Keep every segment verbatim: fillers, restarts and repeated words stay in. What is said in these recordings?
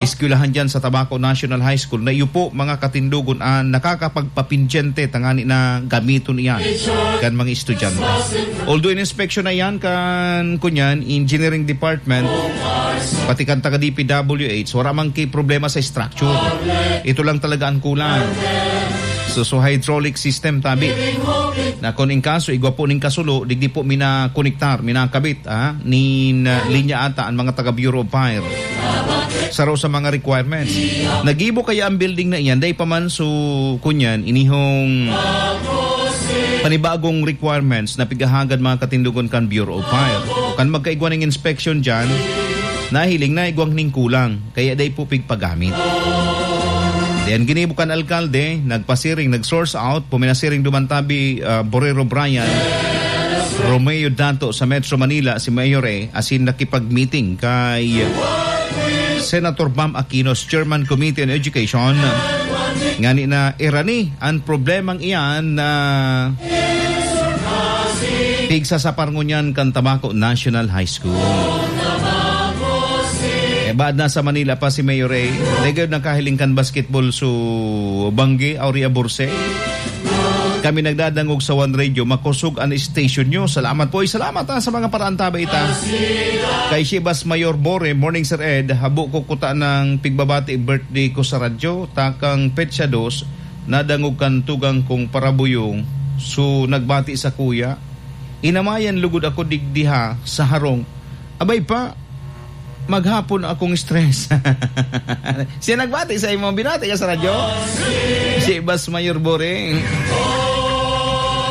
eskwelahan diyan sa Tabaco National High School, na iyo po, mga katindogon, an nakakapagpapindyente tangani na gamiton iyan kan mga estudyante. Although in-inspection na iyan kan, kunyan, engineering department, pati kan taga D P W H, wala mang ki problema sa structure. Ito lang talaga ang kulang. So, so hydraulic system, tabi. Na kung in kaso, igwa po ning kasulo, digdi po minakonektar, minakabit, ah, nin, ah, linya ata ang mga taga Bureau of Fire. Saro sa mga requirements. Nagibo kaya ang building na iyan, dai pa man, so, kunyan, inihong panibagong requirements na pighahagad, mga katindogon, kan Bureau of Fire. Kan magkaigwa ning inspection diyan, nahiling na igwang ning kulang, kaya dai po pigpagamit. Diyan ginibo kan alkalde, nagpasiring, nag-source out, puminasiring duman tabi, ah, Borrero Brian, Romeo Danto sa Metro Manila, si Mayor A, asin nakipag-meeting kay Senator Bam Aquino, Chairman Committee on Education, ngani na irani an problemang iyan na pigsasapar ngunyan kan Tabaco National High School. Eh, baad nasa Manila pa si Mayor A, dai gayod nakahiling kan basketball so Banggi, Aurea Borse. Kami nagdadangog sa One Radio, makosog an station nyo. Salamat po. Ay, salamat, ha, sa mga paraan ta ba ita. Kay Shibas Mayor Bore, "Morning, Sir Ed. Habo ko kuta ng pigbabati birthday ko sa radyo. Takang petsa dos, nadangog kan tugang kong parabuyong. So, nagbati sa kuya. Inamayan lugod ako digdiha sa harong. Abay pa, maghapon akong stress." Siya nagbati sa imo, binati ka sa radyo? Si Bas Mayor Boring.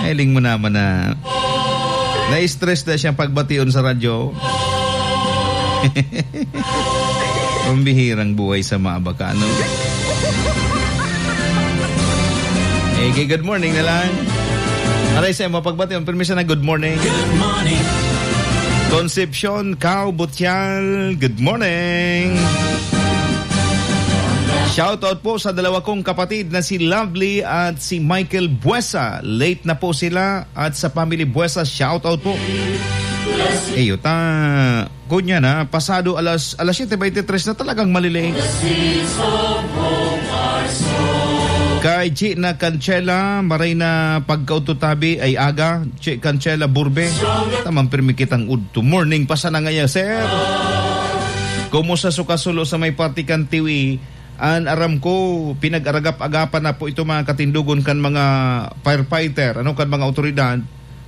Hiling mo naman na na-stress na siyang pagbation sa radyo. Ang bihirang buhay sa mga baka, ano? Eh, good morning na lang. Aray sa imo, pagbation, permiso na, good morning. Good morning. Concepcion Cao Butial, good morning. Shout out po sa dalawa kong kapatid na si Lovely at si Michael Buesa. Late na po sila, at sa family Buesa, shout out po. Eyo ta, kunya na, pasado alas, alas siyete beintitres na, talagang malilate. Kay Chi na Kanchela, maray na pagkaudto tabi ay aga. Che Kanchela Burbe. Tamang pirmi kitang udto. Morning pa sana ngaya, sir. Kumusta so kasulo sa may parte kan Tiwi? An aram ko, pinag-aragap-agapan na po ito, mga katindogon, kan mga firefighter, ano, kan mga otoridad.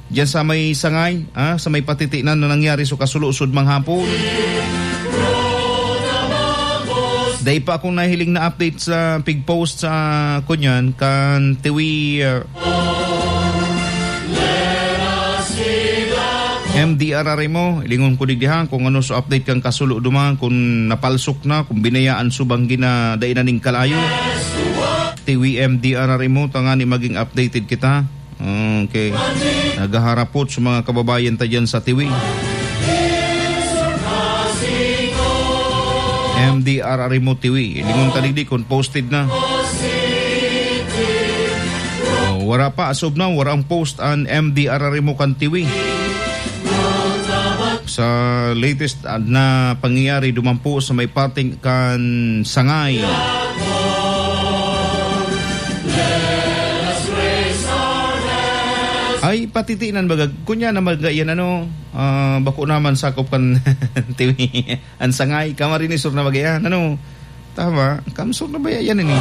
Diyan sa may Sangay, ah, sa may patitinan na nangyari so kasulo sud manghapon. Dai pa akong nahiling na update sa pig-post sa, kunyan, kan Tiwi, ah, M D R R M O, ilingon ko digdi ha, kung ano sa update kan kasulo duman, kung napalsok na, kung binayaan subang gina, dai na ning kalayo. Tiwi M D R R M O, tangani maging updated kita. Okay. Nagaharapot sa mga kababayan ta dyan sa Tiwi. M D R R M O Tiwi. Ilingon ta digdi kung posted na. Oh, wara pa, as of now, wara ang post an M D R R M O kan Tiwi. Sa latest, ah, na pangyayari, duman po sa may parting kan Sangay. Ay, patitinan baga, kunya na baga yan, ano, ah, bako naman sakop kan Tiwi. An Sangay, Camarines Sur na baga yan, ano. Tama, Kamsur na ba yan, ini?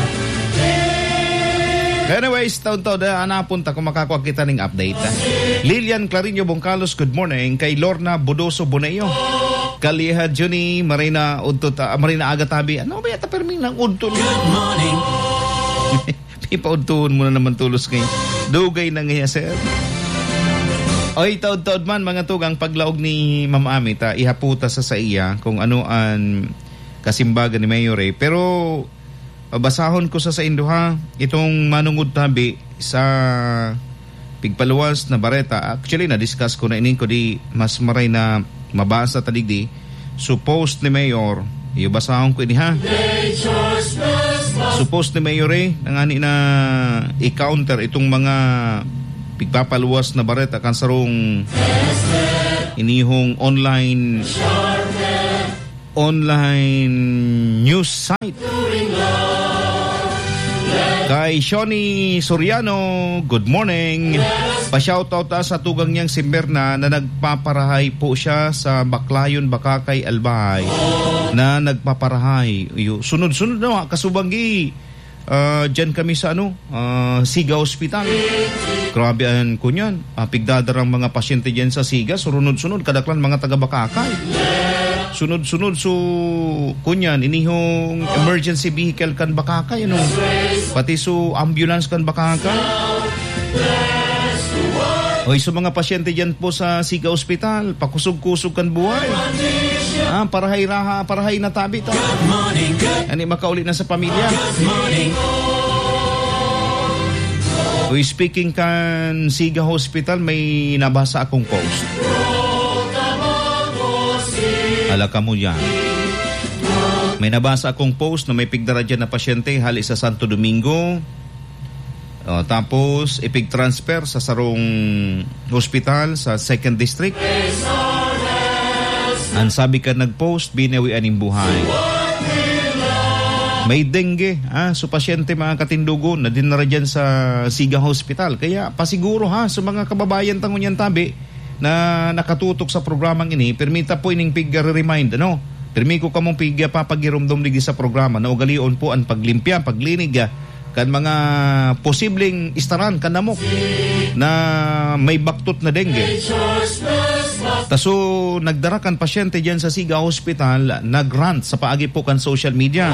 Anyways, taon-taon na, anapon ta kung makakwa kita ning update, ha? Lilian Clarinio Bongkalos, good morning. Kay Lorna Budoso Boneo. Kaliha Juni, Marina Udto, ta-, Marina Agatabi. Ano ba yata permi ng udto? Good morning. Ipaudtuhon mo na naman tulos kay dugay na nga, sir. Oy, taod-taod man, mga tugang, paglaog ni Ma'am Ami, ta, ihaputa sa saiya kung ano an kasimbagan ni Mayor, eh. Pero, basahon ko sa saindo, ha, itong manungod tabi sa pigpaluwas na bareta. Actually, na-discuss ko na ini, kudi mas maray na mabasa ta digdi. So, post ni Mayor, iyo basahon ko ini, ha. So, post ni Mayor, eh, nangani na i-counter itong mga pigpapaluwas na bareta kan sarong inihong online online news site. Kay Shoni Soriano, good morning. Pa-shoutout ta sa tugang niyang si Mirna na nagpaparahay po siya sa Baclayon, Bacacay, Albay, na nagpaparahay. Iyo, sunod-sunod na, kasubanggi. Ah, diyan kami sa ano, ah, Siga Hospital. Grabe an kunyan. Ah, pigdadarang mga pasyente diyan sa Siga, surunod-sunod, kadaklan mga taga Bacacay. Sunod-sunod, so, kunyan, inihong emergency vehicle kan Bacacay, ano? Pati so ambulance kan Bacacay. Oy, sa mga pasyente diyan po sa Siga Hospital, pakusog-kusog kan buhay. Ah, parahay raha, parahay na tabi ta. Ani makauli na sa pamilya. Uy, speaking kan Siga Hospital, may nabasa akong post. Hala kamo yan. May nabasa akong post na may pigdara dyan na pasyente hali sa Santo Domingo. Oh, tapos, ipig-transfer sa sarong hospital sa Second District. Ang sabi ka nag-post, binawian nin buhay. May dengue, ah, so pasyente, mga katindogon, na dinara dyan sa Siga Hospital. Kaya, pasiguro, ha, sa mga kababayan tangon yan tabi, na nakatutok sa programang ini, permita po ining pig-remind, ano? Permi ko kamong pig-, papagiromdom digdi sa programa na ugalion po ang paglimpya, paglinig, ah, kan mga posibleng istaran kan lamok na may baktot na dengue. Taso, nagdara kan pasyente diyan sa Siga Hospital, nag-rant sa paagi po kan social media.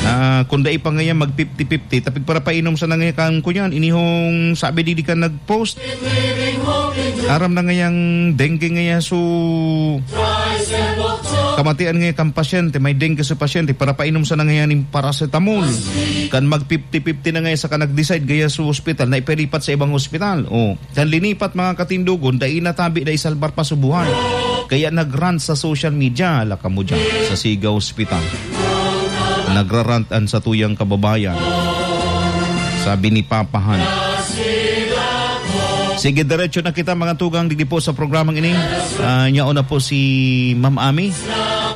Ah, kung dai pa ngayon mag fifty fifty, tapig para painom sa nangyakan ko yan. Inihong sabi di, di ka nag-post. Aram na ngayang dengue ngaya, so kamatian ngaya kan pasyente, may dengue sa pasyente, para painom sa nangayaning paracetamol. Kan mag fifty fifty na ngaya, saka nag-decide gaya sa hospital na ipalipat sa ibang hospital. Oh, kan linipat, mga katindogon, dai natabi na isalbar pa sa buhay. Kaya nag-rant sa social media, laka mo dyan, sa Siga Hospital. Nagrarant an satuyang kababayan. Sabi ni Papa Han. Sige, diretso na kita, mga tugang, digdi po sa programang ini. Ah, nyaon na po si Ma'am Ami.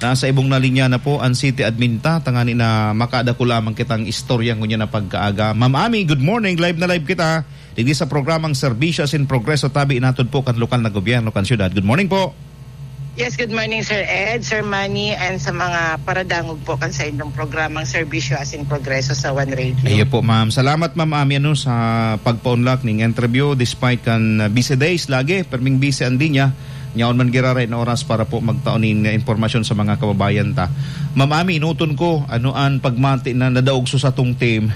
Nasa ibong na linya na po ang city admin ta. Tangani na makadako lamang kitang istorya ngunyan na pagkaaga. Ma'am Ami, good morning. Live na live kita. Digdi sa programang Serbisyo asin Progreso, tabi inatod po kan lokal na gobyerno kan syudad. Good morning po. Yes, good morning, Sir Ed, Sir Manny, and sa mga paradangog po kan sa inyong programang Serbisyo asin Progreso sa One Radio. Iyo po, ma'am. Salamat, Ma'am Ami, ano, sa pagpaunlak ning interview despite kan, uh, busy days lagi, perming busy ang linya. Nyaon man giraray na oras para po magtao nin, uh, impormasyon sa mga kababayan ta. Ma'am Ami, inuton ko, ano an pagmati na nadaog sa satong team?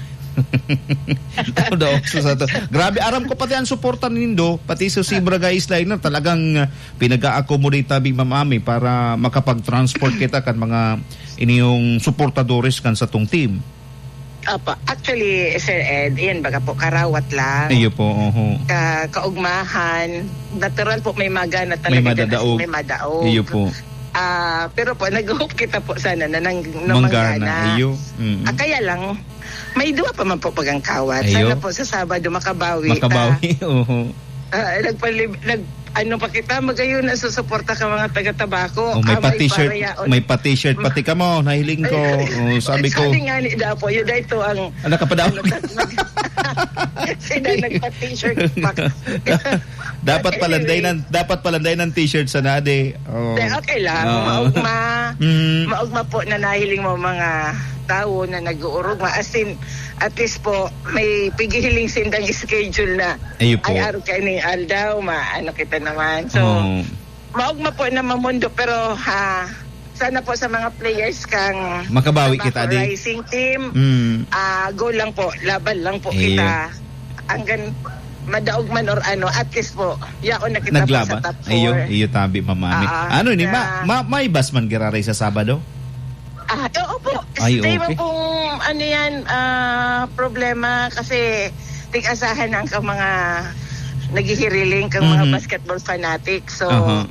Nadaog sa sato. Grabe, aram ko pati ang suporta nindo, pati sa Zebra Guys Liner, talagang, uh, pinag-a-accommodate tabi, Ma'am Ami, para makapag-transport kita kan mga iniyong suportadores kan satong team. Apa, actually, Sir Ed, iyan baga po, karawat lang. Iyo po, oho. Ka-, kaugmahan, natural po, may magana May talaga dyan, madadaog. May madaog. Iyo po. Ah, pero po, nag-hope kita po sana na nang-, na Manggana, manggana. Iyo. Mm. Ah, kaya lang, may duwa pa man po pagangkawat. Iyo. Sana po sa Sabado makabawi ta. Makabawi, oho. Ah, nagpalib-, nag-, ano pa kita, magayon na susuporta ka mga taga-Tabaco. Oh, may Ah, pa-t-shirt, para yaon. may pa-t-shirt pati ka mo, nahiling ko. Oh, sabi ko. Sabi nga ni Dapo, yun na ito ang Ah, nakapadaw. ano, nag-, sila nagpa-t-shirt pa. Dapat But palanday anyway. ng, dapat palanday ng t-shirt sa nade. Oh. Hindi, okay lang. Oo. Maugma. Mm. Maugma po na nahiling mo mga tawo na nag-uurugma. As in, at least po, may pigihiling sindang schedule na. Ayo po. Ay, araw kayo ning aldaw, ma-, ano kita naman. So, Oo. maugma po na mamundo, pero, ha, sana po sa mga players kang Makabawi kita, adi. Rising Team, Mm. ah, go lang po, laban lang po Iyo. kita. Hanggang madaog man or ano, at least po, yaon na kita po sa Naglaban. top four. Iyo, iyo tabi, Ma'am Ami. Ah, Ano ni, ma-, na ma-, may bus man giraray sa Sabado? Ah, oo po. Ay, Stay mo okay. pong, ano yan, ah, problema kasi tig-asahan ang kang mga naghihiriling, kang mga Mhm. basketball fanatic. So, Aha.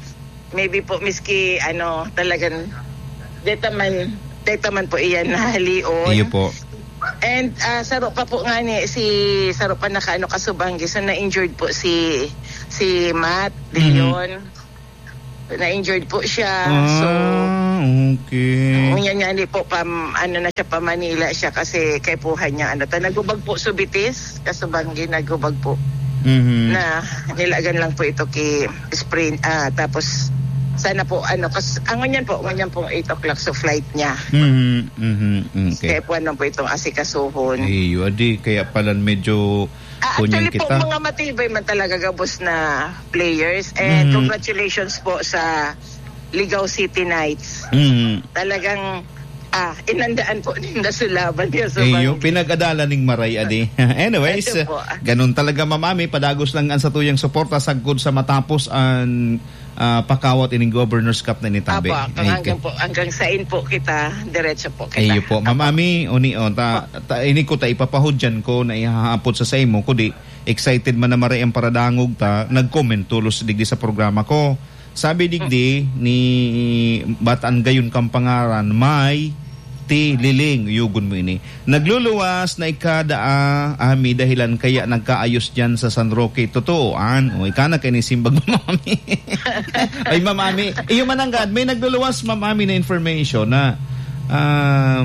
maybe po, miski, ano, talagang, deta man, deta man po iyan nahalion. Iyo po. And, ah, saro pa po nga ni, si, saro pa naka, ano, kasubanggi. So, na-injured po si, si Matt Mhm. Leon. Na-injured po siya. Ah. So, Okay. Ngunyan nga ni po, pam-, ano na siya, pa Manila siya kasi kaipuhan niya, ano, ta, nagubag po subitis, kasubanggi, nagubag po. Mhm. Na nilagan lang po ito ki spring, ah, tapos sana po, ano, kas-, ah, ngunyan po, ngunyan pong eight o'clock so flight niya. Mhm, mhm, okay. Kaipuhan lang po itong asikasuhon. Iyo, adi, kaya pala medyo Ah, kunyang actually po, kita. Mga matibay man talaga gabos na players. And Mhm. congratulations po sa Ligao City Knights. Mhm. Talagang, ah, inandaan po ninda sa laban niya sa Iyo, banggi. Pinag-adalan ning maray, adi. Anyways, Ito po. Ganun talaga, Ma'am Ami. Padagos lang ang satuyang suporta sagkod sa matapos ang, ah, pakawat ining Governor's Cup na initabi. Apo, hanggang Ay, po, hanggang sain po kita, diretso po kita. Iyo po, Ma'am Apo. Ami, uni, oh, ta, Apo. Ta, ini ko ta ipapahudyan ko na ihahapot sa saimo, kudi excited man na maray ang paradangog ta, nag-comment tulos digdi sa programa ko. Sabi digdi ni Bataan Gayon Kampangaran, may ti liling, yugon mo ini. Nagluluwas na ikada, ah, ah, may dahilan kaya nagkaayos diyan sa San Roque. Totoo, an? O, ika na kay ni simbag, Ma'am Ami. Ay, Ma'am Ami. Iyo man nanggad, may nagluluwas, Ma'am Ami, na information na, ah,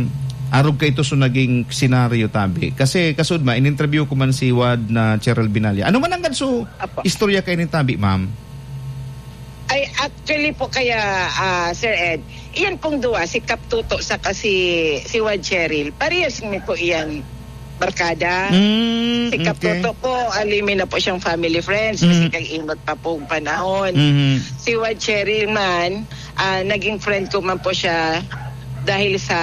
arog kay ito so naging senaryo, tabi. Kasi, kasud ma, in-interview ko man si Wad na Cheryl Binalya. Ano man nanggad so Apo. Istorya kay ni tabi, Ma'am? Ay, actually po kaya, ah, Sir Ed, iyan pong duwa, si Kap Toto saka si, si Wad Cheryl, parehas mi po iyan barkada. Mm, Si Kap okay. Toto po, alimi na po siyang family friends, Mm. kasi kag-inot pa pong panahon. Mhm. Si Wad Cheryl man, ah, naging friend ko man po siya dahil sa,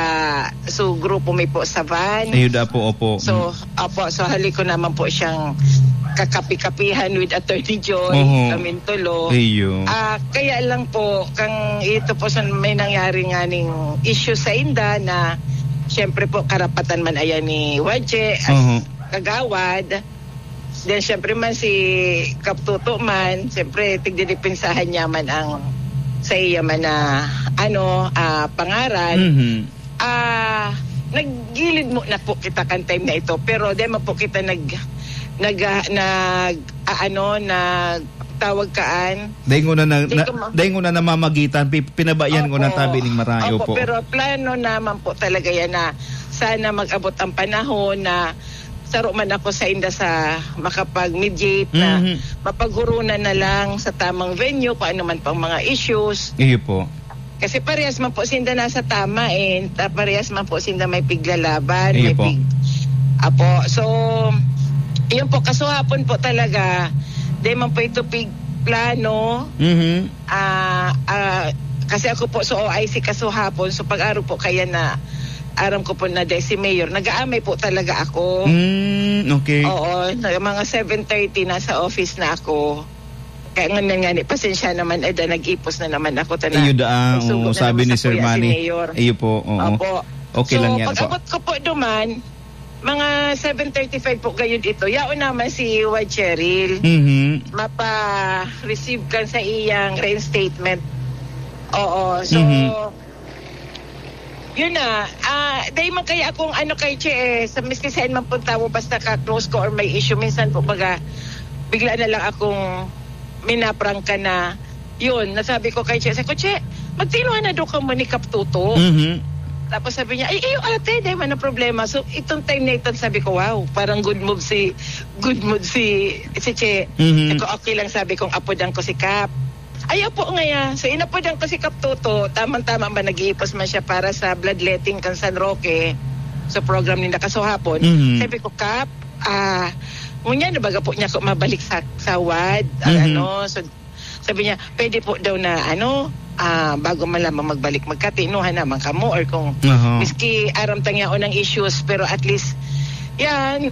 so, grupo mi po sa Vans. Ayun, apo, opo. So, Mm. Opo, so hali ko naman po siyang kakapi-kapihan with Attorney Joy, Oho. Kaming tulo. Iyo. Ah, kaya lang po, kang ito po sa may nangyari nga ning issue sa inda na, siyempre po, karapatan man ayan ni Wadje as Oho. Kagawad. Then, siyempre man, si Kap Toto man, siyempre, tigdidepensahan niya man ang sa iya man na, ano, ah, pangaran. Mhm. Ah, naggilid muna po kita kan time na ito, pero di man po kita nag-, nag-, ah, nag-, ah, ano, nagtawag kaan. Dahil nguna na, Di na, ko ma- dahil nguna namamagitan, pi-, pinabayaan ko na Opo. Tabi ning marayo Opo, po. Pero plano naman po talaga yan na sana mag-abot ang panahon na saro man ako sa inda sa makapag-mediate na Mhm. mapaghurunan na lang sa tamang venue kung ano man pang mga issues. Iyo po. Kasi parehas man po sinda nasa tama, eh. Ta-, parehas man po sinda may piglalaban, Iyo may po. pig-, Apo. So, yun po, kasuhapon po talaga, di man po ito pig-, plano. Mhm. Ah, ah, kasi ako po sa O I C kasuhapon, so pag-aro po kaya na, aram ko po na dahil si Mayor, nag-aamay po talaga ako. Mm, okay. Oo, na-, mga seven thirty nasa office na ako. Kaya nga, nga ni, pasensya naman, eh, da, nag-ipos na naman ako, tana. Iyo da, ah, Nagsugo oo, na sabi naman ni sa Sir kuya si Manny. Mayor. Iyo po, oo. Opo. Okay So, lang yan po. Pag-abot ko po duman, mga seven thirty-five po gayud ito. Yaon naman si Wad Cheryl. Mhm. Mapa-receive kan sa iyang reinstatement. Oo. So, Mhm. Yun na. Ah, dahil man kaya akong ano kay Che, eh, sa miski saan man pong tawo, basta ka-close ko or may issue, minsan po baga, bigla na lang akong minaprangka na, yun, nasabi ko kay Che, sabi ko, "Che, magtinuhan na daw ka mo ni Kap Toto." Mhm. Tapos sabi niya, "Ay, iyo ate, di man ang problema." So, itong time na ito, sabi ko, "Wow, parang good move si, good move si, si Che." Mhm. Sabi ko, "Okay lang," sabi kong, "Apodan ko si Kap." Ay, opo, ngaya. So, inapodan ko si Kap Toto. Tamang-tama ba, nag-iipos man siya para sa bloodletting kan San Roque sa program ni Nakasuhapon. Mhm. Sabi ko, "Kap, ah, ngunyan na baga po niya ako mabalik sa, sa wad, ah, Mhm. ano." So, sabi niya, "Pwede po daw na, ano, ah, bago man lamang magbalik magkatinuhan naman kamo or kung Aha. miski aram tang yaon ang issues, pero at least, yan,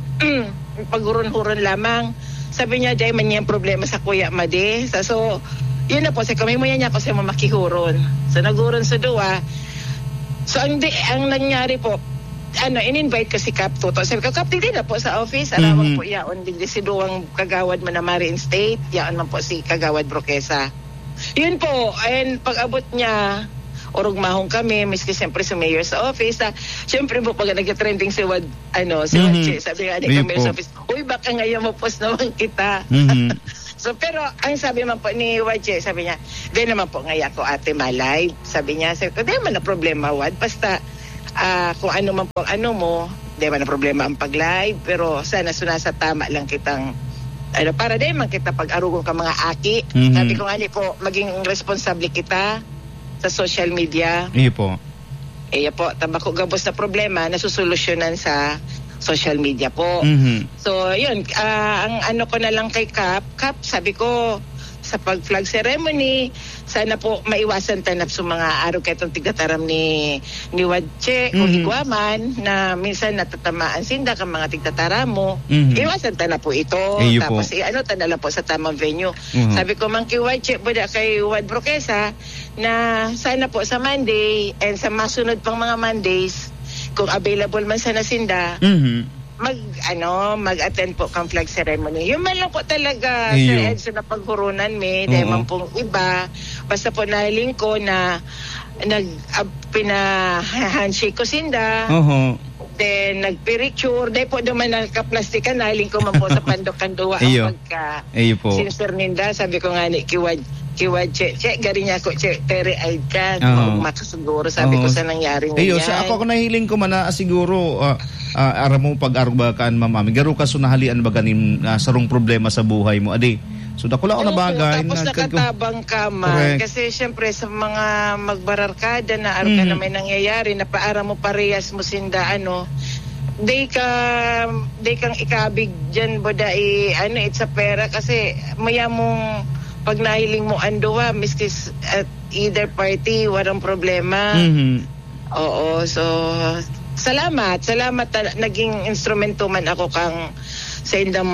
paghuron-huron lamang." Sabi niya, "Dai man niyang problema sa kuya, madi." Sa, so, yun na po, sa kamay mo yan niya ako sa mamakihuron. So, naghuron sa duwa. So, ang di, ang nangyari po, ano, in-invite ko si Kap Toto. Sabi ko, "Kap, digdi na po sa office. Arawang Mhm. po yaon, digdi si duwang kagawad mo na ma-reinstate. Yaon man po si Kagawad Broquesa." Yun po, and pag-abot niya, orog mahong kami, miski siyempre si Mayor sa office. Ah, siyempre po, pag nag-trending si Wad, ano, si Wad Mhm. Che, sabi nga ni Iyo Mayor po. sa office, "Uy, baka ngayon mapos naman kita." Mhm. So, pero ang sabi man po ni Wadje, sabi niya, "Di naman po ngaya ako, ate, ma-live." Sabi niya, sabi ko, "Di man na problema, Wad. Basta, ah, kung ano man po ang ano mo, di man na problema ang pag-live. Pero sana sunasa tama lang kitang, ano, para di man kita pag-arugon ka mga aki." Mhm. Sabi ko nga ni po, "Maging responsable kita sa social media." Iyo po. Iyo po, tabako gabos na problema, nasusolusyonan sa social media po. Mhm. So, yun, ah, ang ano ko na lang kay Kap, Kap, sabi ko, sa pag-flag ceremony, sana po maiwasan ta na sa mga arog kaitong tigataram ni, ni Wadche, kung Mhm. igwa man, na minsan natatamaan sinda kang mga tigtataram mo. Mhm. Iwasan ta na po ito. Iyo po. Tapos, i-ano ta na lang po sa tamang venue. Mhm. Sabi ko, man kay Wadche, buda kay Wad Broquesa, na sana po sa Monday and sa masunod pang mga Mondays, kung available man sana sinda, Mhm. mag, ano, mag-attend po kang flag ceremony. Yun man lang po talaga, Iyo. Sir Edson, na paghurunan mi, dahil Oo. man pong iba, basta po nahiling ko na nag, ah, pina-handshake ko sinda, Oho. then nagpiritsure, dahil po naman nakaplastikan, nahiling ko man po sa pandok kan duwa ang Iyo. pagka Iyo po. sincere ninda. Sabi ko nga ni, kiwad, kiwad, che, che, gari niya ako, che, teary-eyed ka, Oo. Maog makasiguro, sabi ko, Oo. sa nangyari na Iyo, sa yan. ako, ako nahiling ko man na, ah, siguro, ah, ah, aram mo, pag-arog ba kaan, Ma'am Ami, garo ka sunahalian ba ganing, ah, sarong problema sa buhay mo, adi? So, dakula ako na Opo, bagay tapos na kag-, nakatabang ka man. Correct. Kasi, syempre, sa mga magbararkada na arog ka na Mhm. may nangyayari, na paaram mo, parehas mo sinda, ano, di ka, di kang ikabig dyan, boda, i-, ano, it's a pera. Kasi, maya mong pag nahiling mo ang duwa, miski s-, at either party, walang problema. Mhm. Oo, so, salamat. Salamat ta-, naging instrumento man ako kang sa indang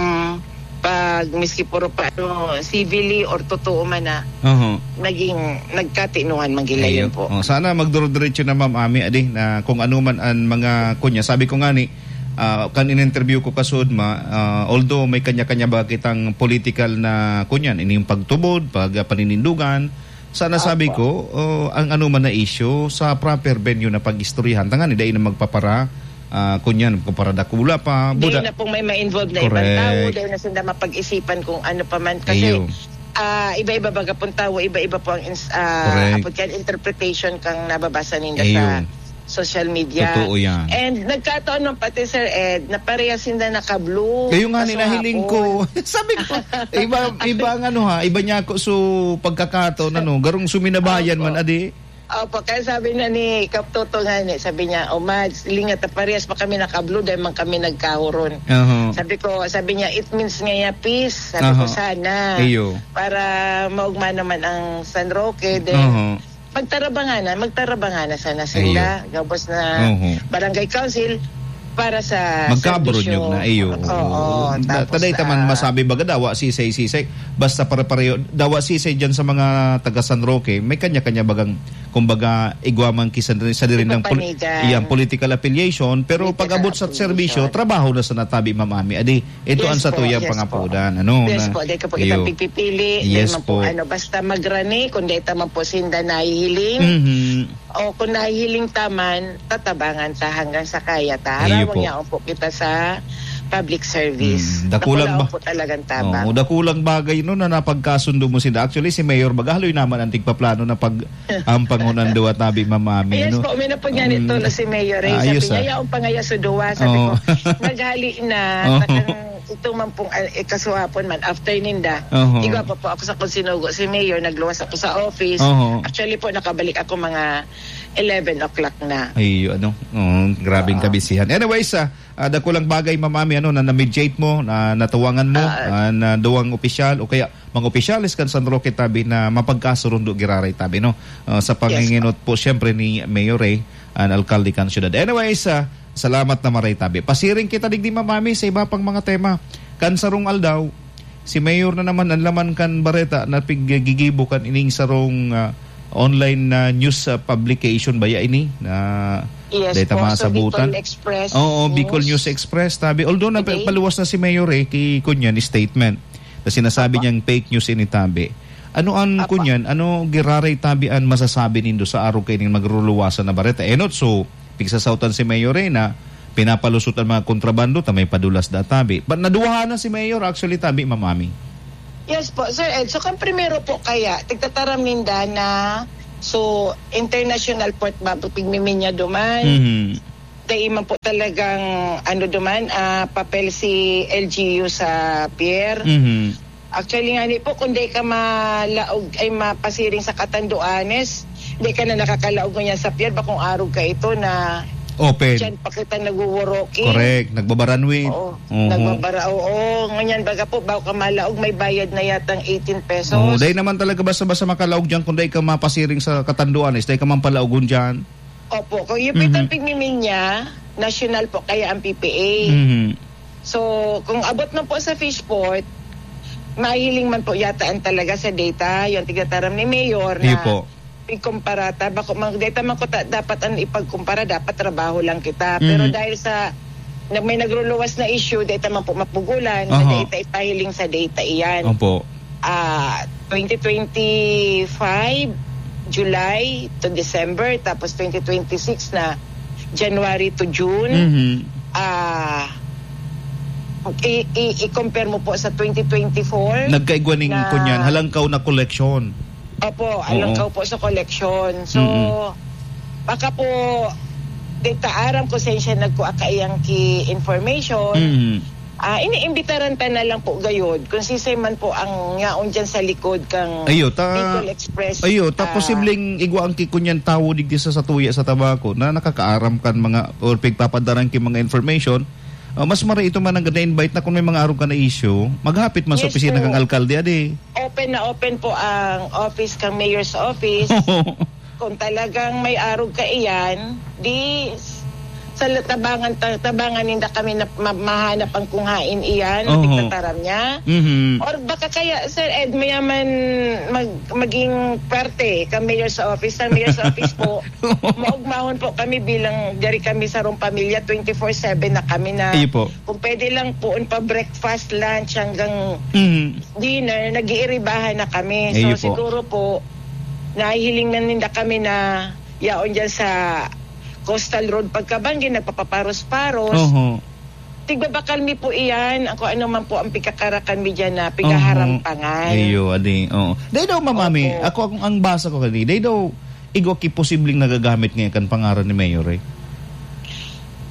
pag miski puro pa, ano, civilly or totoo man na Oho. naging nagkatinuhan man gila Iyo. yun po. Oh, sana magduro-diretso na, Ma'am Ami, adi, na kung ano man ang mga kunya. Sabi ko nga ni, ah, kan in-interview ko kasud ma, ah, although may kanya-kanya ba kitang political na kunyan, ini yung pagtubod, pag, ah, paninindugan, sana sabi Opo. ko, oh, ang ano man na issue, sa proper venue na pag-istoryahan. Tangani, dai na magpapara, ah, kunyan, magpaparadakula pa. Dai Buda- na pong may ma-involve na ibang Correct. tao, dai na sila mapag-isipan kung ano pa man. Kasi, Iyo. ah, iba-iba baga pong tao, iba-iba po ang ins-, ah, Correct. apod kan interpretation kang nababasa ninda Iyo. sa social media. Totoo yan. And nagkataon nung pati, Sir Ed, na parehas sinda naka-blue. Kayo nga, Kaso ninahiling hapon. ko. Sabi ko, iba, iba ang ano ha, iba niya ako. So, pagkakataon, ano, garong suminabayan Opo. man, adi. Opo, kaya sabi na ni Kap Toto nga ni, sabi niya, "O, Mads, lingat na parehas pa kami naka-blue, dahil man kami nagkahuron." Oho. Sabi ko, sabi niya, "It means nga ya, peace." Sabi ko, Oho. "Sana." Iyo. Para maugma naman ang San Roque, then Oho. magtarabangan na, magtarabangan na sana sila. Iyo. Gabos na Oho. barangay council para sa Magkaabro serbisyo. nyo na, iyo. Oo, Oo. Da-, tapos, taday ta man ah, masabi baga, dawa sisay-sisay. Basta pare-pareho, dawa sisay dyan sa mga taga San Roque, may kanya-kanya bagang, kumbaga, igwa man ki sa, sa diring ng pol-, Ipapanigan. iyang political affiliation, pero Political pag-abot sa affiliation. serbisyo, trabaho na sa natabi, Ma'am Ami. Adi, ito Yes ang sa po, tuyang yes po. pangapudan, ano, Yes na, po, dahil ka po iyo. itang pipipili, Yes dahil man po, po. ano, basta magrani, kung dahil ta man po sinda nahihiling, Mhm. o kung nahihiling ta man, tatabangan ta hanggang sa kaya ta. Iyo Harawang po. yaon po kita sa public service. Hmm, dakulang Dakulaon ba-, po talagang tabang. Oo, dakulang bagay, no, na napagkasundo mo sila. Actually, si Mayor baga, haloy naman ang tigpaplano na pag-ampang on ang duwa tabi, Ma'am Ami, Yes no? po, may napag niya nito Mm. na si Mayor Ray. Sabi Ayos, niya, ah. "Yaon pa ngaya sa duwa." Sabi Oo. ko, "Naghali na, Oo. takang ito man pong, ah, eh, kasuhapon man, after ninda." Oo. Igwa pa po ako sa kung sinugo si Mayor, nagluwas ako sa office. Oo. Actually po, nakabalik ako mga eleven o'clock na. Ay, ano, oh, grabing Oo. kabisihan. Anyways, ah, ah, dakulang bagay, Ma'am Ami, ano, na na-mediate mo, na natuwangan mo, Ah, ah, na duwang opisyal o kaya mga opisyales kan San Roque tabi na mapagkasurundo giraray tabi, no? Ah, sa Yes, panginginot po, siyempre, ni Mayor Ray, an alkalde kan syudad. Anyways, ah, salamat na maray tabi. Pasiring kita digdi, Ma'am Ami, sa iba pang mga tema. Kan sarong aldaw, si Mayor na naman ang laman kan bareta na piggigibo kan ining sarong, ah, online na news, ah, publication baya ini na Yes deta po, sa masabutan? Bicol Express Oo, Bicol News. News Express, tabi. Although na Okay. paluwas na si Mayor eh, ki kunyan statement na sinasabi Apo. niyang fake news ini, tabi. Ano ang Apo. kunyan? Ano giraray, tabi, an masasabi nindo sa arog kaining magruluwasan na bareta? Enot, so, pigsasautan si Mayor eh na pinapalusot ang mga kontrabando, ta may padulas da, tabi. But naduwahan na si Mayor, actually, tabi, Ma'am Ami. Yes po, Sir Ed. So, kan primero po kaya, tigtataram ninda na, so, international port ba, pigmiminya duman? Mhm. Dai man po talagang, ano duman, ah, papel si L G U sa pier. Mhm. Actually, nga ni po, kung dai ka malaog, ay mapasiring sa Catanduanes, dai ka na nakakalaog ngunyan sa pier, bakong arog ka ito na Open. Diyan pa kita nagwoworoki. Correct. Nagbabaranwit. Oo. Mhm. Nagbabara-, oo. Ngunyan, baga po, bago ka malaog, may bayad na yatang eighteen pesos. Oo, dai naman talaga basta-basta makalaog diyan kung dai ka mapasiring sa Catanduanes, dai ka man palaogon diyan. Opo. Kung yung Mhm. pitong pigmiminya, national po, kaya ang P P A. Mhm. So, kung abot man po sa Fishport, mahiling man po yata ang talaga sa data, yung tigataram ni Mayor Iyo na po. Ikumpara ta, bako mang data man ko ta, dapat ang ipagkumpara, dapat trabaho lang kita. Pero Mhm. dahil sa na may nagruluwas na issue, data man po mapugulan, na Oho. data ipahiling sa data iyan. Opo. Ah, twenty twenty-five, July to December, tapos twenty twenty-six na January to June. Mhm. Ah, i-, i-, i-compare mo po sa twenty twenty-four Nagkaigwa ning na kunyan, halangkaw na koleksyon. Opo, Oo. alangkaw po sa koleksyon. So, Mm. baka po, di ta aram kung saan siya nagkuha kaiyang ki information. Mm. Ah, iniimbitaran ta na lang po gayod kung sisay man po ang yaon dyan sa likod kang Ayo, ta-, Bicol Express, ayo, ta ah, posibleng igwa ang kikunyan tawo digdi sa satuya sa Tabaco na nakakaaram kan mga or pigpapadarang ki mga information. Ah, mas mara ito man ang na-invite na kung may mga arog ka na issue, maghapit man sa Yes opisina po. kang alkalde, adi. Open na open po ang office kang mayor's office. Kung talagang may arog ka iyan, di s-, sa la-, tabangan, ta-, tabangan ninda kami na ma-, mahanap ang kung hain iyan, Oho. tigtataram niya. Mhm. Or baka kaya, Sir Ed, mayaman mag-, maging parte ka mayor's office. Sa mayor's office po, maugmahon po kami bilang, dari kami sarong pamilya, twenty-four seven na kami na Iyo po. kung pwede lang po, pa breakfast, lunch, hanggang Mhm. dinner, nag-iiribahan na kami. So, Iyo po. siguro po, nahihiling na ninda kami na yaon dyan sa Coastal Road pagkabanggi, nagpapaparos-paros. Oho. Tigbabakal mi po iyan, ang kung ano man po ang pigkakarakan mi dyan na Oho. pigaharampangan. Iyo, adi, oo. Dai daw, Ma'am Ami, Opo. ako, ang, ang basa ko kani, dai daw, igwa ki posibleng nagagamit ngayon kan pangaran ni Mayor, eh.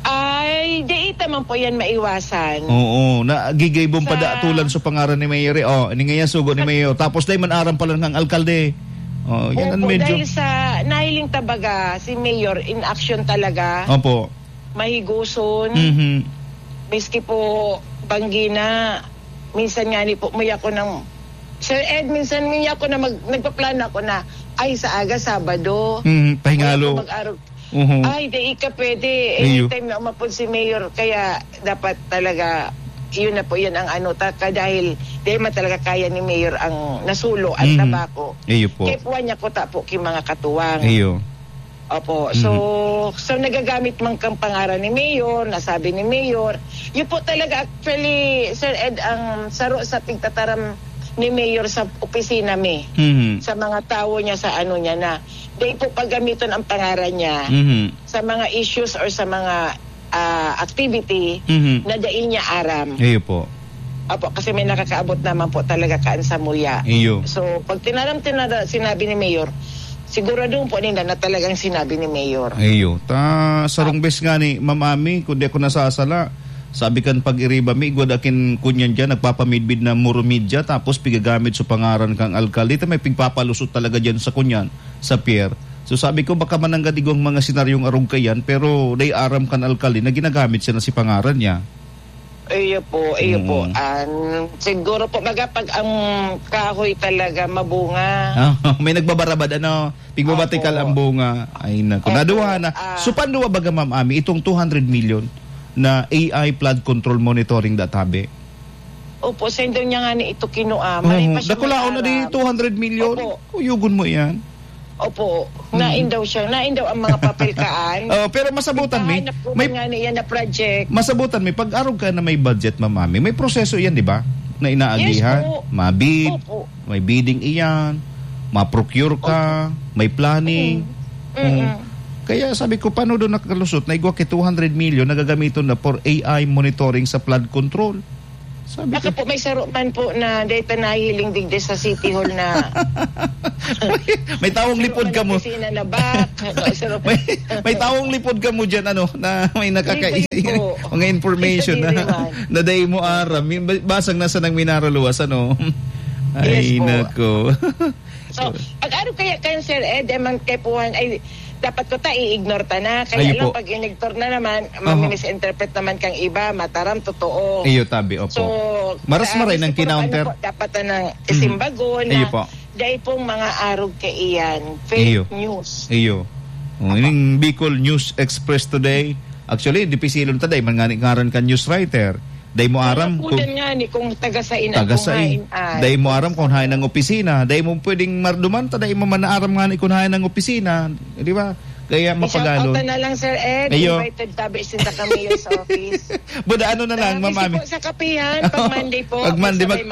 Ay, di ita man po yan maiwasan. Oo, na gigay bong Sa padatulan sa pangaran ni Mayor, eh. Oh, ini nga yan, sugo ni Mayor. Tapos dai man aram pala ng alkalde. Oh, yan ang Opo, medyo dahil sa nahiling ta baga, si Mayor in action talaga. Opo. Mahiguson. Mhm. Miski po banggi na, minsan nga ni po, may ako ng, Sir Ed, minsan may ako na mag-, nagpaplano ako na, ay, sa aga, Sabado. Mhm, pahingalo. Wala po mag-arog. Mhm. Ay, di ka pwede. Iyo. Anytime na umapod si Mayor, kaya dapat talaga, yun na po, yan ang ano, ta, ka, dahil, dahil man talaga kaya ni Mayor ang nasulo at Mhm. tabako. Iyo po. Kaya puwan niya ko ta po ki mga katuwang. Iyo. Opo. So, Mhm. so nagagamit man kang pangaran ni Mayor, nasabi ni Mayor. Yun po talaga, actually, Sir Ed, ang saro sa pigtataram ni Mayor sa opisina mi, Mhm. sa mga tawo niya, sa ano niya na. Dahil po paggamiton ang pangaran niya Mhm. sa mga issues or sa mga, ah, activity Mhm. na dai niya aram. Iyo po. Opo, kasi may nakakaabot naman po talaga kaan sa muya. Iyo. So, pag tinaram, tinara-, sinabi ni Mayor, siguraduhon po ninda na talagang sinabi ni Mayor. Iyo. Ta, sarong bes nga ni Ma'am Ami, kung di ako nasasala, sabi kan pag-iriba mi, igwa da kin kunyan dyan, nagpapamidbid na murumidya, tapos pigagamit sa pangaran kang alkalde. Ta may pigpapalusot talaga dyan sa kunyan, sa pier. So sabi ko, baka mananggad igwang mga senaryong arog kayan, pero dai aram kan alkalde na ginagamit siya na si pangaran niya. Iyo po, iyo po. Mm. An, siguro po, baga pag ang kahoy talaga mabunga. Ah, may nagbabarabad, ano, pigbabatikal Opo. ang bunga. Ay, naku. Opo. Naduha na. Ah. So, panduwa baga, Ma'am Ami, itong two hundred million na A I flood control monitoring da tabi? Opo, sendo niya nga ni ito kinua. Oo, Mali pa siya dakulaon na di, may aram. two hundred million. Opo. Kuyugon mo yan. Opo, Mm. nain daw siya. Nain daw ang mga papel kaan. Oh, pero masabutan mi, Naghahanap po may man nga niya na project. Masabutan mi, pag arog ka na may budget, Ma'am Ami, may proseso yan, di ba? Na inaagihan. Yes po. Mabid, Opo. may bidding iyan, ma-procure ka, Opo. may planning. Mm. Mm-mm. Oh. Kaya sabi ko, paano doon nakalusot na igwa ki two hundred million na gagamiton na for A I monitoring sa flood control? Sabi ko, "Baka po may saro man po na data nahiling digdi sa City Hall na may tawong lipod ka mo." Saro man ang opisina na back. Saro may, may tawong lipod ka mo dyan, ano, na may nakakaisi-, mga information na, na dai mo aram. Basang nasa nang minaraluwas, ano? Ay, nako. So, pag-arog kaya kan Sir Ed, eh, man kay puhan, ay, dapat ko ta, i-ignore ta na. Kaya lang, pag in-ignore na naman, mami-misinterpret naman kang iba, mataram, totoo. Iyo, tabi, opo. So, maras maray nang kinounter. Dapat na nang isimbagon na dai pong mga arog kaiyan. Fake news. Iyo. Oh, ining Bicol News Express today. Actually, dipisilon ta, dai man ngani ngaran kan news writer. Dai mo aram kung taga sain ang, taga sain. Dai mo aram kung hain ang opisina. Dai mo pwedeng marduman ta, dai mo man naaram ngani kung hain ang opisina. Di ba? Kaya mapagalon. I-shout out na lang, Sir Ed. Ayo. Invited tabi sinda kami sa office. Buda, ano na lang, Ma'am Ami. Sa kapihan, pag Monday po, pag Monday, mag-,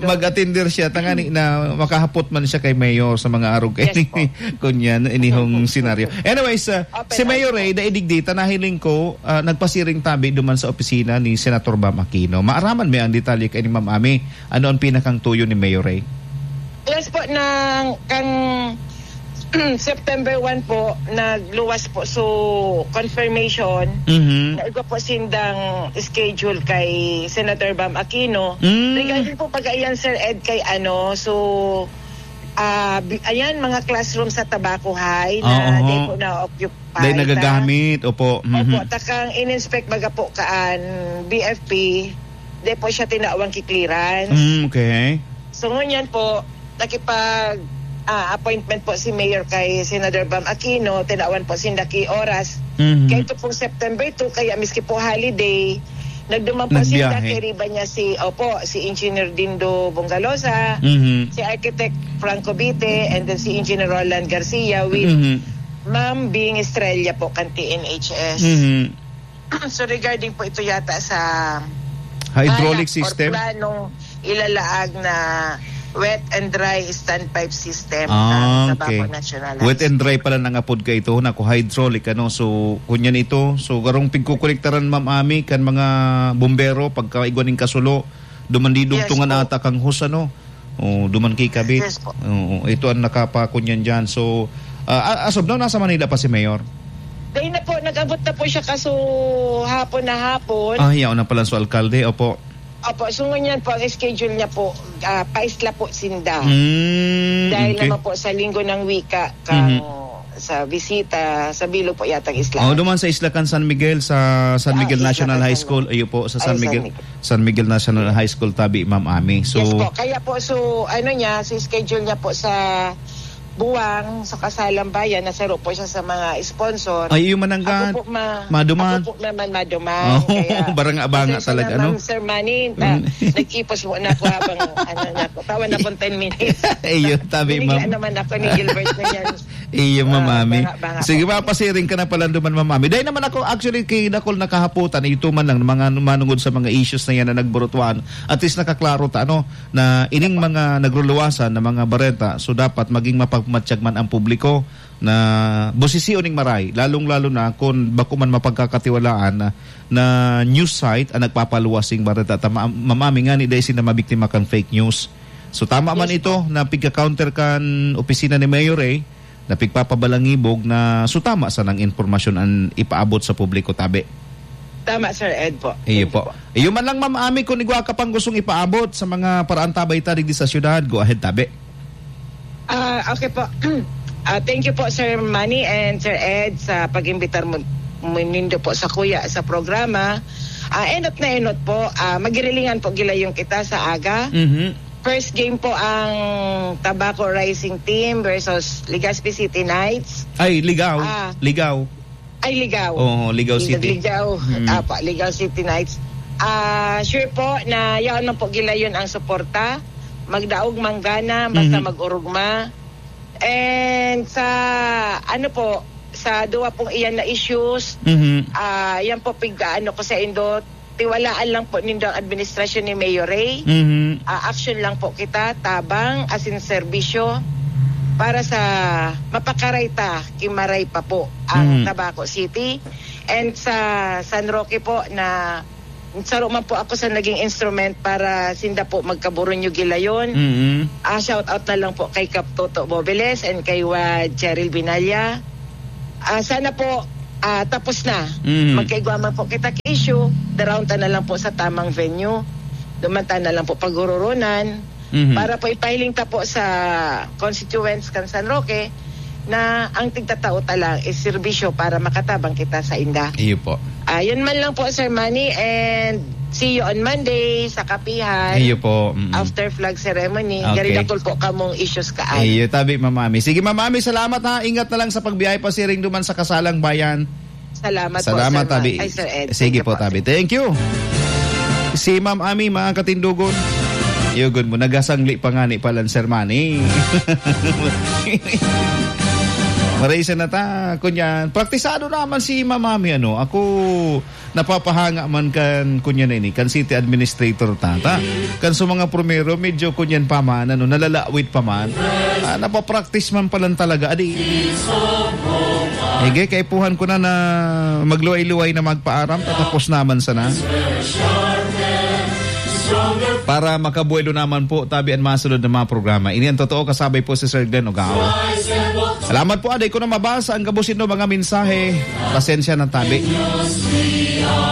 mag-attender siya. Tangani na makahapot man siya kay Mayor sa mga arog kay, yes, po. Kunyan, inihong senaryo. Anyways, uh, si Mayor Ray, daig digdi ta, nahiling ko, ah, nagpasiring tabi duman sa opisina ni Senator Bam Aquino. Maaraman mi ang detalye kay ni Ma'am Ami. Ano ang pinakang tuyo ni Mayor Ray? Yes po, nang, kang September one po, nagluwas po. So, confirmation, naigwa po sindang schedule kay Senator Bam Aquino. Regarding po pag-aiyan, Sir Ed, kay ano, so, ah, bi-, ayan, mga classroom sa Tabaco High na di po na-occupy. Dahil nagagamit, opo. Opo, takang in-inspect baga po kaan B F P, di po siya tinawang ki-clearance. Mm, okay. So, ngunyan po, nakipag, ah, appointment po si Mayor kay Senador Bam Aquino, tinawan po sinda ki oras. Kaya ito pong September two, kaya miski po holiday, nagduman po sinda, kay riba niya si, opo, si Engineer Dindo Bongalosa, si Architect Franco Bite, and then si Engineer Roland Garcia with Ma'am Bing Estrella po kan T N H S. So, regarding po ito yata sa hydraulic system? Balak or planong ilalaag na wet and dry standpipe system sa Tabaco National High School. Wet and dry pala nang apod ka ito, naku, hydraulic, ano. So, kunyan ito. So, garong pigkukonektaran, Ma'am Ami, kan mga bumbero, pagkaigwa ning kasulo, duman di dugtungan ata kang hose, ano. Oh, duman ki kabit. Yes po. Oo, ito ang nakapakunyan dyan. So, ah, a-, as of now, nasa Manila pa si Mayor? Dahil na po, nag-abot na po siya kaso hapon na hapon. Ah, yaon na pala sa alkalde, opo. Opo, so ngunyan po, ang schedule niya po, ah, paisla po sinda. Mm, dahil naman po sa Linggo ng Wika, kang sa bisita, sa bilog po yatang isla. Oh, duman sa isla kan San Miguel, sa San Miguel National High School. Iyo po, sa San Miguel, San Miguel National High School tabi, Ma'am Ami. So, yes po. Kaya po, so, ano niya, si schedule niya po sa Buwang, sa Kasalang Bayan, nasaro po siya sa mga sponsor. Ay, iyo man ang ako po ma-, maduman. Ako po naman maduman. Oh, kaya baranga-banga talaga, no? Ma'am Sir Manny, ah, nag-ipos mo na ako habang, ano na ako, tawan akong ten minutes. Iyo, tabi, ma'am. Binigyan naman ako ni Gilbert na yan. Iyo, Ma'am Ami. Sige, papasiring ka na pala duman, Ma'am Ami. Dahil naman ako, actually, kay dakol na kahapotan, ito man lang, mga manungod sa mga issues na yan na nagburutuan, at least nakaklaro ta, ano, na ining mga nagruluwasan na mga bareta, so dapat maging mapagmatyag man ang publiko na bosisiyon ning maray, lalong-lalo na kung bako man mapagkakatiwalaan na, na news site ang nagpapaluwas ning bareta. Tama, Ma'am Ami, ngani dai sinda mabiktima kan fake news. So, tama man ito na pigka-counter kan opisina ni Mayor Ray, na pigpapabalangibog na, so, tama sanang impormasyon ang ipaabot sa publiko, tabi. Tama, Sir Ed po. Iyo po. Iyo man lang, Ma'am Ami, kung igwa ka pang gustong ipaabot sa mga paraantabay ta digdi sa syudad, go ahead, tabi. Ah, okay po. Ah, thank you po, Sir Manny and Sir Ed, sa pag-imbitar mo, mo nindo po sa kuya sa programa. Ah, enot na enot po. Ah, magirilingan po gilayon kita sa aga. Mhm. First game po ang Tabaco Rising Team versus Legazpi City Knights. Ay, Ligaw. Ah. Ligaw. Ay, Ligaw. Oo, Ligaw City. Ligaw. Mm. Apa, Ligaw City Knights. Ah, sure po na yaon man po gilayon ang suporta. Magdaog manggana, basta Mhm. mag-urugma. And sa, ano po, sa duwa pong iyan na issues, Mhm. ah, yan po pig-aano ko sa indo, tiwalaan lang po nindo ang administrasyon ni Mayor Ray. Mhm. Ah, action lang po kita, tabang, asin serbisyo, para sa mapakaray ta, kimaray pa po ang Mhm. Tabaco City. And sa San Roque po na Saro man po ako sa naging instrument para sinda po magkaburunyog gilayon. Mm. Ah, shout out na lang po kay Kap Toto Bobeles and kay Wad Cheryl Binalya. Ah, sana po, ah, tapos na. Mm. Magkaigwa man po kita ka issue, daraon ta na lang po sa tamang venue. Duman ta na lang po paghururunan. Mhm. Para po ipahiling ta po sa constituents kan San Roque na ang tigtatao ta lang is serbisyo para makatabang kita sa inda. Iyo po. Ah, yun man lang po, Sir Manny, and see you on Monday sa Kapihan. Iyo po, mm. After flag ceremony. Okay. Gari dakul po kamong issues kaan. Iyo, tabi, Ma'am Ami. Sige, Ma'am Ami, salamat ha. Ingat na lang sa pagbiyahe pasiring duman sa Kasalang Bayan. Salamat po, Salamat, Sir Ma-, tabi. Ay, Sir Ed. Sige Thank you po, po. tabi. Thank you. Si Ma'am Ami, mga katindogon. Yugon mo, nagasangli pa nga ni palan, Sir Manny. Marisa na ta, kunyan. Praktisado naman si Ma'am Ami, ano. Ako, napapahanga man kan, kunyan na ini, kan city administrator tata. Kan sa mga primero, medyo kunyan pa man, ano, nalalawit pa man. Ah, napapraktis man palan talaga. Adi, Ege, kaipuhan ko na na magluway-luway na magpaaram, tatapos naman sana. Para makabuelo naman po, tabi an masunod na mga programa. Ini ang totoo, kasabay po si Sir Glenn Ogao. Salamat po, aday ko na mabasa ang gabos indo mga mensahe. Pasensya na, tabi.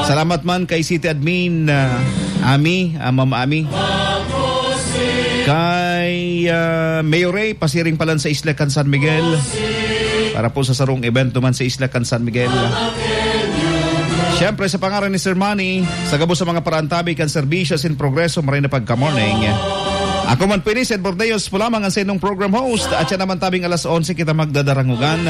Salamat man kay City Admin, ah, Ami, ah, Ma'am Ami. Kay, ah, Mayor Ray, pasiring palan sa Isla kan San Miguel. Para po sa sarong event duman sa Isla kan San Miguel. Siyempre, sa pangaran ni Sir Manny, sa gabos sa mga parantabi kan serbisyo sin progreso, maray na pagka-morning. Ako man po ini, Sed Bordeos po lamang ang saindong program host. At siya naman tabing alas onse kita magdadarangugan.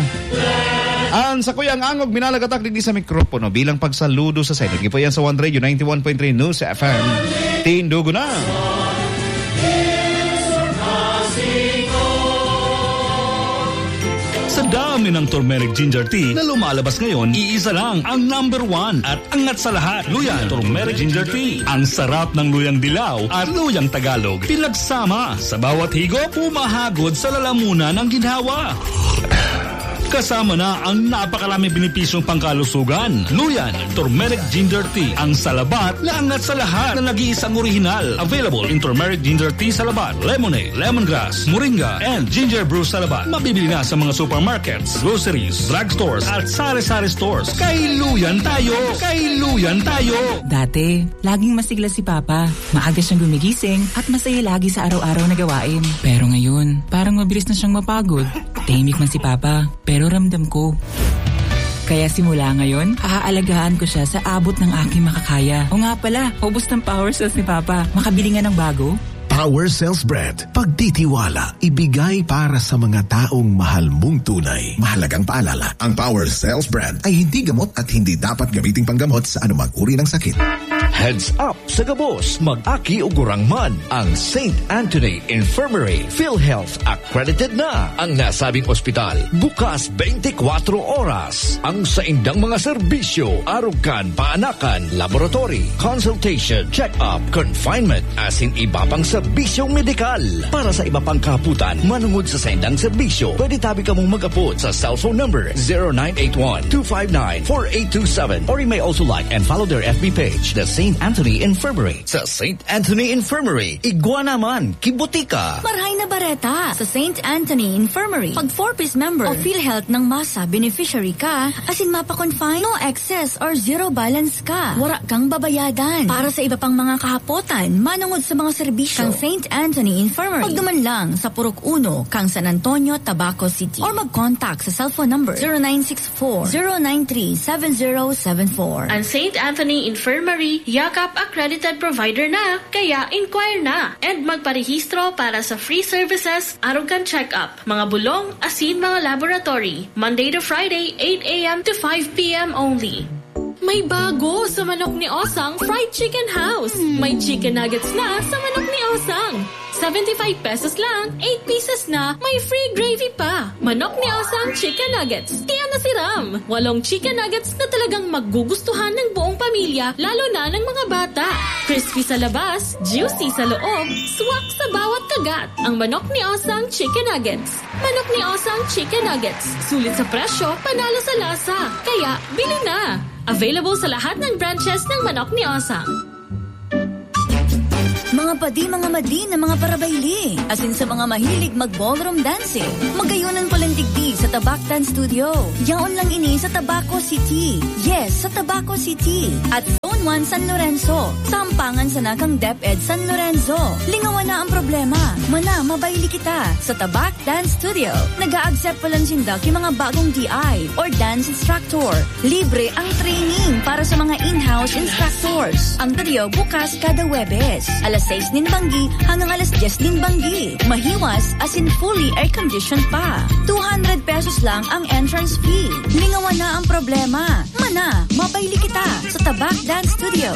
An sakuyang angog, minalagatak digdi sa mikropono bilang pagsaludo sa sayo. Gipo yan sa One Radio ninety-one point three News F M. Tindugo na! Sa dami ng turmeric ginger tea na lumalabas ngayon, iisa lang ang number one at angat sa lahat. Luyan Turmeric Ginger Tea. Ang sarap ng luyang dilaw at luyang Tagalog. Pinagsama sa bawat higop, humahagod sa lalamunan ng ginhawa. Kasama na ang napakaraming benepisyong pangkalusugan. Luyan Turmeric Ginger Tea, ang salabat na angat sa lahat na nag-iisang orihinal. Available in turmeric ginger tea salabat, lemonade, lemongrass, moringa, and ginger brew salabat. Mabibili na sa mga supermarkets, groceries, drugstores, at sari-sari stores. Kay Luyan tayo! Kay Luyan tayo! Dati, laging masigla si Papa. Maaga siyang gumigising at masaya lagi sa araw-araw na gawain. Pero ngayon, parang mabilis na siyang mapagod. Tahimik man si Papa, pero ramdam ko. Kaya simula ngayon, aalagaan ko siya sa abot ng aking makakaya. O nga pala, ubos ng power cells ni Papa. Makabili nga ng bago? Power Cells Brand. Pagtitiwala, ibigay para sa mga taong mahal mong tunay. Mahalagang paalala, ang Power Cells Brand ay hindi gamot at hindi dapat gamiting panggamot sa anumang uri ng sakit. Heads up sa gabos, mag-aki o gurang man. Ang Saint Anthony Infirmary PhilHealth accredited na. Ang nasabing ospital, bukas twenty-four oras. Ang saindang mga serbisyo, arog kan paanakan, laboratory, consultation, check-up, confinement, asin iba pang serbisyong medikal. Para sa iba pang kahapotan, manungod sa saindang serbisyo, pwede tabi kamong mag-apod sa cellphone number zero nine eight one, two five nine, four eight two seven, or you may also like and follow their F B page, The Saint Anthony Infirmary. Sa Saint Anthony Infirmary, igwa naman, kibutika! Marhay na bareta! Sa Saint Anthony Infirmary, pag four Ps member o PhilHealth ng masa beneficiary ka, asin mapa-confine, no excess or zero balance ka. Wara kang babayadan. Para sa iba pang mga kahapotan, manungod sa mga serbisyo kan Saint Anthony Infirmary, pagduman lang sa Purok Uno, kang San Antonio, Tabaco City. Or mag-contact sa cellphone number zero nine six four, zero nine three, seven zero seven four. Ang Saint Anthony Infirmary, Yakap accredited provider na, kaya inquire na and magparehistro para sa free services, arog kan check-up, mga bulong, asin mga laboratory, Monday to Friday, eight a m to five p m only. May bago sa Manok ni Osang Fried Chicken House. May chicken nuggets na sa Manok ni Osang. Seventy-five pesos lang, eight pieces na, may free gravy pa. Manok ni Osang Chicken Nuggets. Kaya nasiram! Walong chicken nuggets na talagang magugustuhan ng buong pamilya, lalo na ng mga bata. Crispy sa labas, juicy sa loob, swak sa bawat kagat. Ang Manok ni Osang Chicken Nuggets. Manok ni Osang Chicken Nuggets. Sulit sa presyo, panalo sa lasa. Kaya, bili na! Available sa lahat ng branches ng Manok ni Osang. Mga padi, mga madli na mga parabayli, asin sa mga mahilig mag-ballroom dancing, magayon an palandigdi sa Tabak Dance Studio. Yaon lang ini sa Tabaco City. Yes, sa Tabaco City. At Zone one San Lorenzo, sampangan sana kan DepEd San Lorenzo. Lingawan na ang problema. Mana, mabayli kita. Sa Tabak Dance Studio, nag-a-accept pa lang sinda ki mga bagong D I or dance instructor. Libre ang training para sa mga in-house instructors. Ang studio bukas kada Huwebes, alas sais nin banggi hanggang alas dyes nin banggi. Mahiwas asin fully air-conditioned pa. Two hundred pesos lang ang entrance fee. Lingawan na ang problema. Mana, mabayli kita sa Tabak Dance Studio.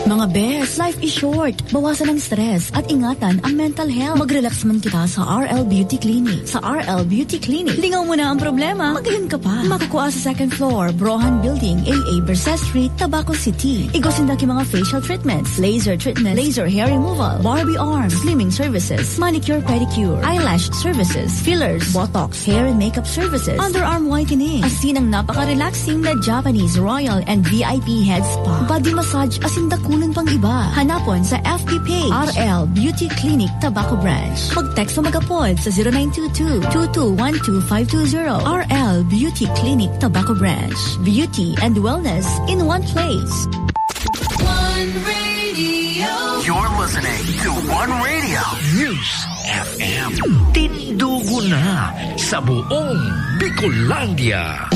Mga bes, life is short. Bawasan ang stress at ingatan ang mental health. Mag-relax man kita sa R L Beauty Clinic. Sa R L Beauty Clinic, lingaw mo na ang problema, magayon ka pa. Makukuha sa second floor, Brohan Building, A A Bercé Street, Tabaco City. Igwa sinda ki mga facial treatments, laser treatments, laser hair removal, Barbie arms, slimming services, manicure, pedicure, eyelash services, fillers, Botox, hair and makeup services, underarm whitening, asin ang napaka-relaxing na Japanese Royal and V I P Head Spa, body massage, asin dakulan pang iba. Hanapon sa F B page, R L Beauty Clinic Tabaco Branch. Mag-text o mag-apod sa zero nine two two, two two one two five two zero. R L Beauty Clinic Tabaco Branch. Beauty and wellness in one place. One Radio. You're listening to One Radio News F M. Tindugo na sa buong Bicolandia.